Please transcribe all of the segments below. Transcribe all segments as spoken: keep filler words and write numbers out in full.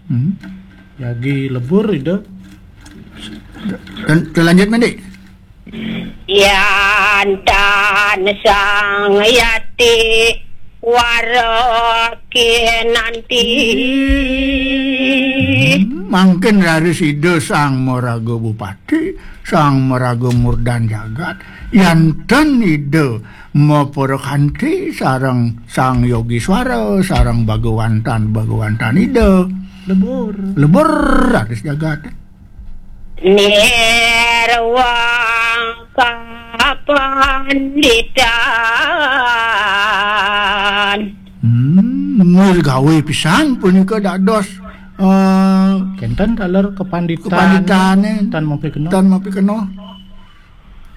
Hmm. Jagi lebur Ida. Ten-, telanjut mandi. Yan tan Sang Yati Wara kinanti. Hmm, mangkin raris Ida Sang Maraga Bupati, Sang Maraga Murdan Jagat, yan ten Ida maparakanti sareng Sang Yogiswara, sareng Bagawantan, Bagawantan Ida. Lebur. Lebur raris jagat. Nirwang kapanditan. Hmm, nirgawe pisan punika dados, eh, kenten taler kepanditan, kepanditane tan mapikenoh. Tan mapikenoh.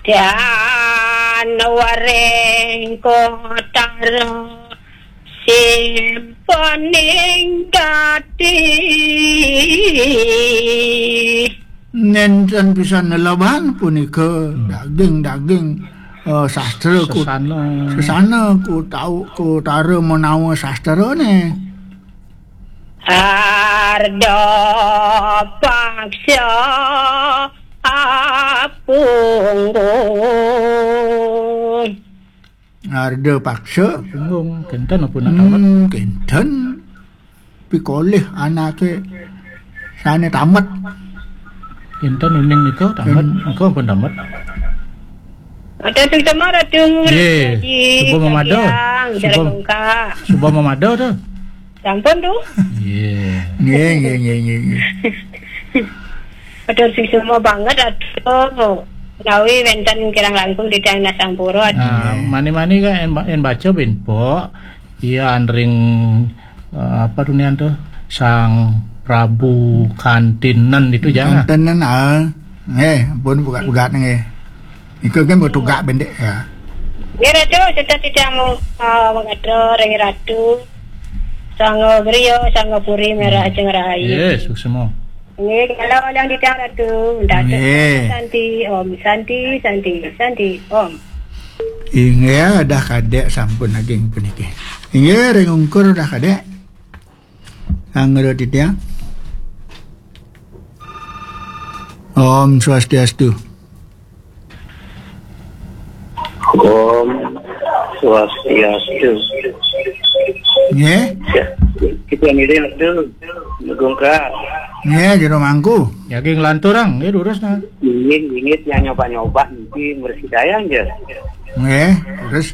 Dan waring kotara simpening gati. Nenten pisan lelaban punika. Hmm. Daging-daging, eh, sastra ku-, sesana. Sesana ku tau, ku tara menawa sastrane. Arda paksa apunggung. Arda paksa. Punggung, kenten apa nak tamat? Hmm, kenten. Pikolih anake sane tamat. Kenten uning nika tamat, ken- nika pun tamat. Ada sing sama Ratu. Ye, Ratu Haji, suba mamada. Yang suba, jalan bongkak. Suba mamada tu. Sampun tu. Ye. Nggih, nggih, nggih, nggih, nggih. Aduh, sing semua banget, aduh. Menawi wenten kirang langkung titiang nasampura, aduh. Nah, mani-mani kan en, en baca bin pok, iya anring, eh, apa tu nian tu? Sang Prabu Kantinen itu jangan. Kantinen, ah. Nggih, pun buka-buka nggih. Iku kan butuh gak bendek ya. Nggih, Ratu, sudah titiang, eh, mengatra ring Ratu. Sanga Griya, Sanga Puri, Merah Ajeng Rahayu. Yes, suksma. Nggih, kalau yang titiang Ratu, Ratu. Nggih. Santi, Om, Santi, Santi, Santi, Om. Inggih, dah kadek sampun ageng puniki. Inggih, ring ungkur dah kadek. Anggra titiang. Om Swastiastu. Om Swastiastu. Nggih. Ya, kita ngiring tu. Nggih, jero mangku. Jagi nglantur, Ang. Nggih, durus, nah. Inggih, inggih, yang nyoba-nyoba niki mresi dayang, ya. Nggih, terus?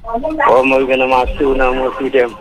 Om Awighnam Astu Namo Sidham.